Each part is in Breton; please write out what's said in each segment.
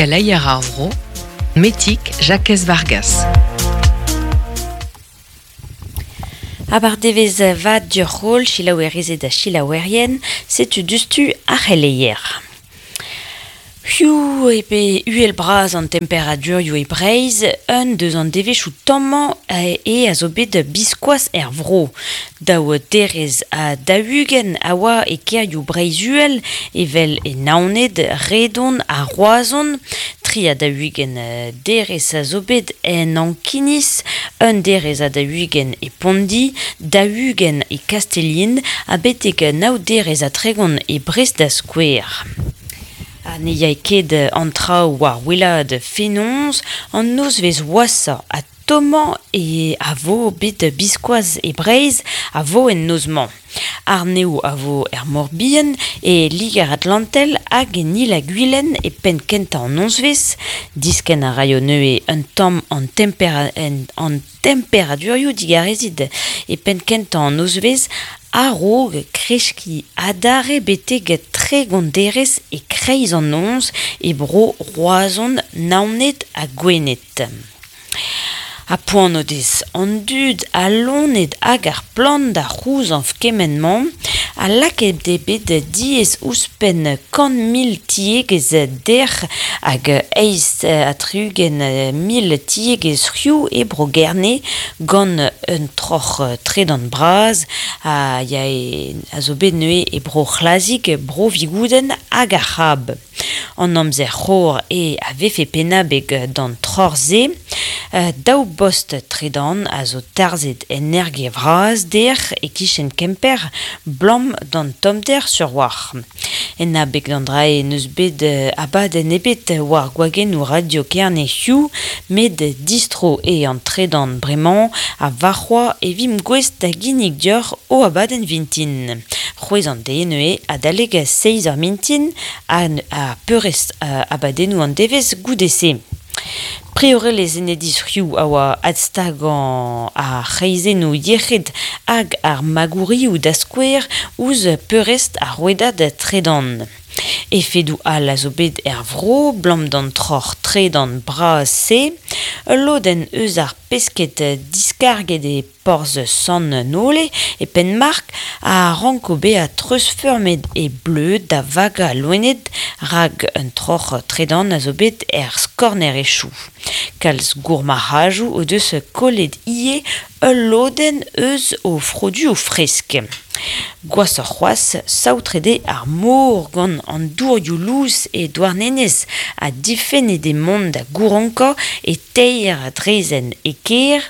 Keleier ar vro, Metig Jakez Vargas. Abardevezh vat dioc'h holl selaouerezed ha selaouerien, setu diouzhtu ar c'heleier. Hiziv eo bet uhel-bras an temperadurioù e Breizh, un deus an devezhioù tommañ eo a zo bet biskoazh er vro. Daou derez ha 40 a oa e kêrioù Breizh-Uhel evel e Naoned, Redon ha Roazhon. 43 derez a zo bet en Ankiniz, un derez ha 40 e Pondi, 40 e Kastellin ha betek nav derez ha 30 e Brest da skouer. Ha ne yae ket an traoù war wellaat fenoz, an nozvezh washañ ha tommañ e a vo bet biskoazh e Breizh a vo en noz-mañ. Arnev a vo er Mor-Bihan, e Liger-Atlantel hag en Il-ha-Gwilen e penn-kentañ an nozvezh. Diskenn a raio neuze un tamm an an temperadurioù digarezit e penn-kentañ an nozvezh a-raok kreskiñ adarre betek 30 derez e-kreiz an noz e bro Roazhon, Naoned ha Gwened. Ha poan o dez an dud, al loened hag ar plant da c'houzañv kement-mañ, ha lakaet eo bet diaes ouzhpenn 100,000 tiegezh dec'h hag 68,000 tiegezh c'hioù e Bro-Gerne gant un troc'h tredan bras a yae a zo bet neuze e Bro-C'hlazig, Bro-Vigoudenn hag ar C'hab. An amzer c'hor eo a vefe pennabeg d'an troc'h-se. Daou bost tredan a zo tarzhet en Erge-Vras dec'h e-kichen Kemper 'blam d'an tommder sur-walc'h. En abeg d'an dra-se n'eus bet abadenn ebet war gwagennoù Radio Kerne hiziv, met distro eo an tredan bremañ ha warc'hoazh e vimp gouest da ginnig deoc'h ho abadenn vintin. C'hwezh an deiz neuze adalek seizh eur mintin ha peurrest abadennoù an devezh goude-se. Priorelezh Enedis Riou a oa adstagañ ar c'hreizennoù yec'hed hag ar magourioù da skouer ouzh peurrest ar rouedad tredan. Efedoù all a zo bet er vro 'blam d'an troc'h tredan bras-se. Ul lodenn eus ar pesked diskarget e Porzh Sant-Nole, e Penmark, a ranko bezañ treuzfeurmet e bleud da vagañ loened rak un troc'h tredan a zo bet er skornerezhioù. Kalz gourmarc'hajoù o deus kollet ivez ul lodenn eus o froduoù fresk. Gwashoc'h c'hoazh, saotret eo ar mor gant an dourioù lous e Douarnenez ha difennet eo mont da gouronkañ e teir draezhenn e kêr.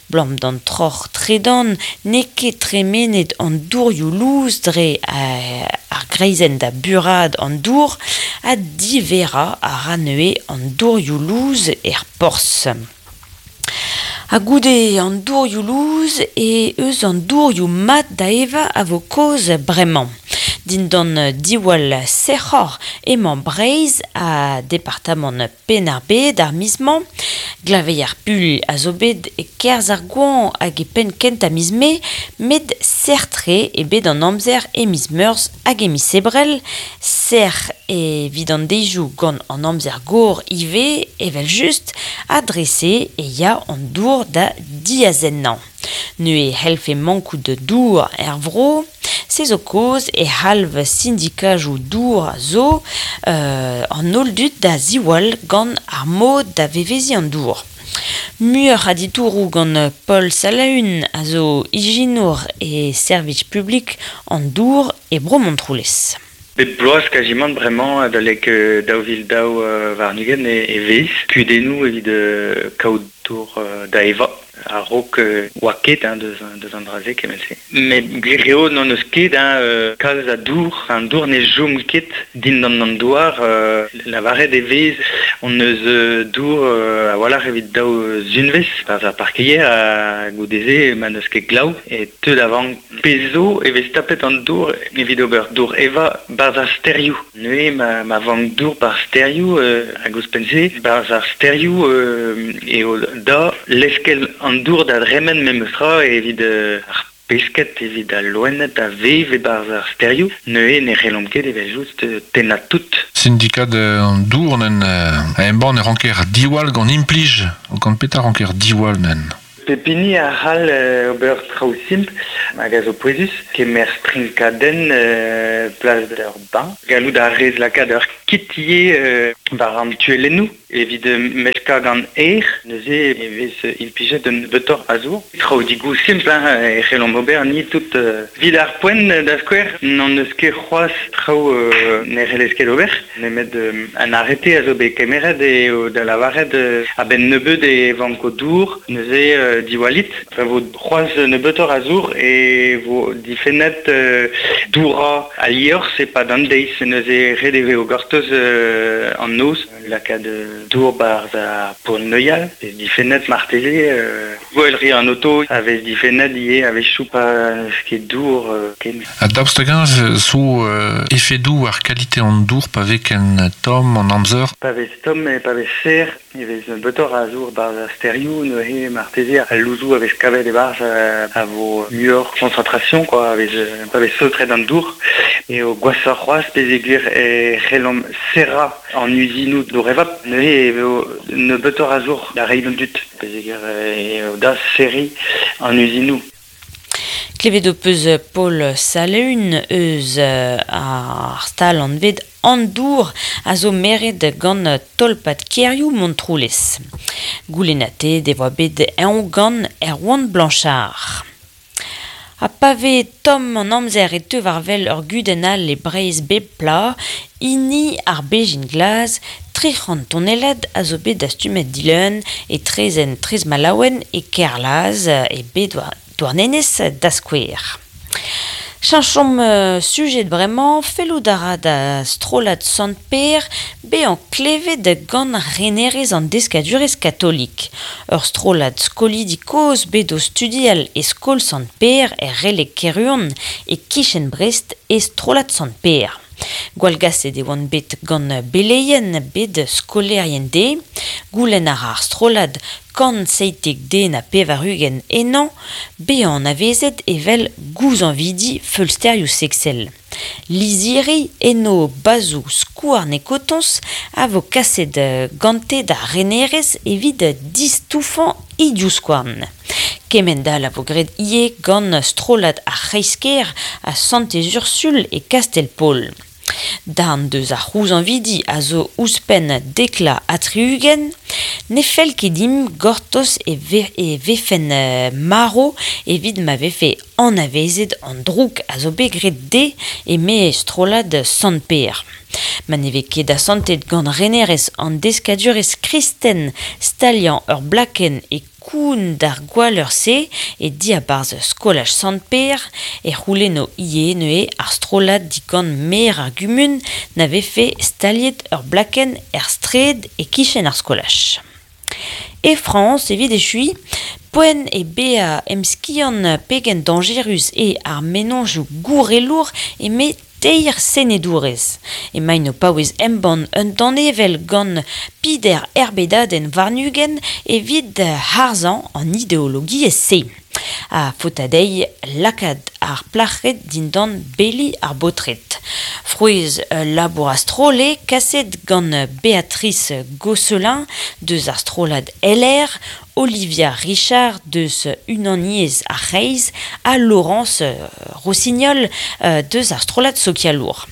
'Blam d'an troc'h tredan n'eo ket tremenet an dourioù lous dre ar greizenn da buraat an dour ha diverrañ a ra neuze an dourioù lous er porzh. Ha goude an dourioù lous e eus an dourioù mat da evañ a vo kaoz bremañ. Dindan diwall sec'hor emañ Breizh ha departamant Penn-ar-Bed ar miz-mañ. Glaveier puilh a zo bet e-kerzh ar goañv hag e penn kentañ miz Mae, met sec'h-tre eo bet an amzer e miz Meurzh hag e miz Ebrel. Sec'h evit an deizioù gant an amzer gor ivez, evel-just, ha dre-se e ya an dour da diazennañ. Neuze e c'hellfe mankout dour er vro. Se zo kaoz e c'halv sindikajoù dour zo an holl dud da ziwall gant ar mod da veveziñ an dour. Muioc'h a ditouroù gant Paul Salaun a zo ijinour e servij publik an dour e Bro Montroulez. Bep bloaz kazimant bremañ adalek 2022 e vez kudennoù evit kaout dour da evañ. A-raok oa ket hein, deus an dra-se kement-se. Met gwir eo n'hon eus ket hein, kalz a dour. An dour ne chom ket dindan an douar. Lavaret e vez hon eus dour a-walc'h evit daou zunvezh barzh ar parkeier ha goude-se ma n'eus ket glav e teu da vank. Pezh zo e vez tapet an dour evit ober dour evañ barzh ar stêrioù. Neuze ma vank dour barzh stêrioù hag ouzhpenn-se barzh ar stêrioù eo da leskel an dour da dremen memes tra evit ar pesked, evit al loened a vev e-barzh ar stêrioù. Neuze ne c'hellomp ket evel-just tennañ tout. Sindikad an dour nen a embann e ranker diwall gant implij, gant petra ranker diwall nen? Pep hini a c'hall ober traoù simpl hag a zo pouezus, kemer strinkadenn plas d'ur bain, gallout a rez lakaat ur kit ivez war an tuellennoù evit meskañ gant aer, neuze e vez implijet un nebeutoc'h a zour. Traoù digoù simpl hein, e c'hellomp ober ni tout. Evit ar poent, da skouer, n'hon eus ket c'hoazh traoù ne c'hellez ket ober, nemet un arrêté a zo bet kemeret eo da lavaret a-benn nebeut e vanko dour, neuze diwallit. Pa vo c'hoazh nebeutoc'h a zour e vo difennet dourañ al liorzh e-pad an deiz, neuze ret e vezo gortoz an noz, lakaat dour 'barzh ar pod-neuial, vez difennet marteze, gwell an oto a vez difennet ivez a-wechoù pa n'eus ket dour ken. Ha daoust hag-eñ zo efedoù war kalite an dour pa vez ken tomm an amzer? Pa vez tomm e pa vez serr e vez nebeutoc'h a zour 'barzh ar stêrioù, neuze marteze al louzoù a vez kavet e-barzh a vo muioc'h concentration quoi, a vez pa vez saotret an dour. Eo gwashoc'h c'hoazh peogwir e c'hellomp serrañ an uzinoù dour-evap, neuze e vo nebeutoc'h a zour da reiñ d'an dud peogwir eo da serriñ an uzinoù. Klevet ho peus Paul Salaun eus ar stal anvet An Dour a zo meret gant tolpad kêrioù Montroulez. Goulennatet e oa bet eñ gant Erwan Blanchard. Ha pa vez tomm an amzer e teu war-wel ur gudenn all e Breizh bep bloaz, hini ar bezhin glas, 300 tonellad a zo bet dastumet dileun e traezhenn Trez-Malaouen e Kerlaz e bed Douarnenez da skouer. Cheñchomp sujed bremañ, fellout a ra da strollad Sant-Pêr bezañ klevet gant renerezh an deskadurezh katolik. Ur strollad skolidi kozh bet o studial e skol Sant-Pêr er Releg-Kerhuon e-kichen Brest e strollad Sant-Pêr. Gwallgaset e oant bet gant beleien bet skolaerien dezhe. Goulenn a ra ar strollad 197 ennañ bezañ anavezet evel gouzañvidi feulsterioù seksel. Lizhiri enno bazhoù skouarn e kotoñs a vo kaset gante d'ar renerezh evit distoufañ he divskouarn. Kemend-all a vo graet ivez gant strollad ar C'hreiz-kêr ha Santez-Ursul e Kastell-Paol. Darn deus ar c'houzañvidi a zo ouzhpenn 70. Ne fell ket dimp gortoz e vefen marv evit ma vefe anavezet an droug a zo bet graet dezhe eme strollad Sant-Pêr. Ma ne vez ket asantet gant renerezh an deskadurezh kristen staliañ ur blakenn e koun d'ar gwalleur-se e diabarzh skolaj Sant-Pêr e c'houlenno ivez neuze ar strollad digant maer ar gumun na vefe staliet ur blakenn er straed e-kichen ar skolaj. E Frañs, evit echuiñ, poent eo bezañ emskiant pegen dañjerus eo ar mennozhioù gourelour eme teir senedourez. Emaint o paouez embann un danevell gant peder erbedadenn warn-ugent evit harzañ an ideologiezh-se. Ha faota dezhi lakaat ar plac'hed dindan beli ar baotred. Frouezh ul labour a-stroll eo kaset gant Béatrice Gosselin deus ar strollad LR, Olivia Richard deus Unaniezh ar C'hreiz ha Laurence Rossignol deus ar strollad sokialour.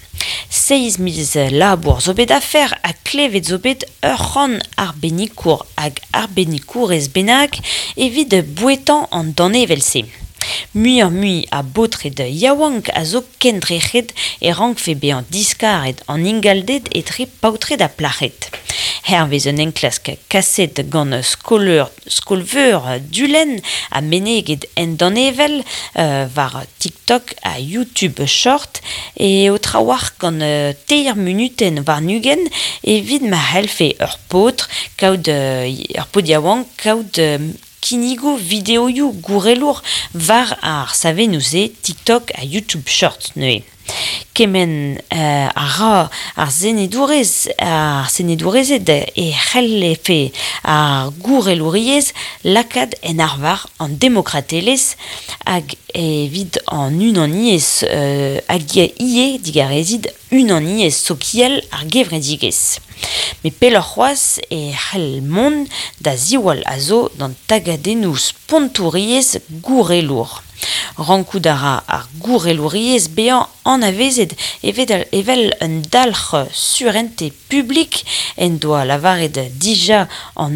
Seizh miz labour zo bet afer ha klevet zo bet ur c'hant arbennikour hag arbennikourez bennak evit bouetañ an danevell-se. Muioc'h-mui a baotred yaouank a zo kendrec'het e rankfe bezañ diskaret an ingalded etre paotred ha plac'hed. Hervez un enklask kaset gant skol-veur Dulenn ha meneget en danevell war TikTok ha YouTube Short eo trawalc'h gant teir munutenn warn-ugent evit ma c'hellfe ur paotr kaout ur paotr yaouank kaout kinnigoù videoioù gourelour war ar savennoù-se TikTok ha YouTube Short neuze. Kemenn a ra ar senedourez ar senedourezed e c'hellfe ar gourelouriezh lakaat en arvar an demokratelezh hag evit an unaniezh hag ivez digarezit unaniezh sokial ar gevredigezh. Met pelloc'h c'hoazh e c'hell mont da ziwall a zo d'an tagadennoù spontouriezh gourelour. Rankout a ra ar gourelouriezh bezañ anavezet evel un dalc'h surentez publik en doa lavaret dija an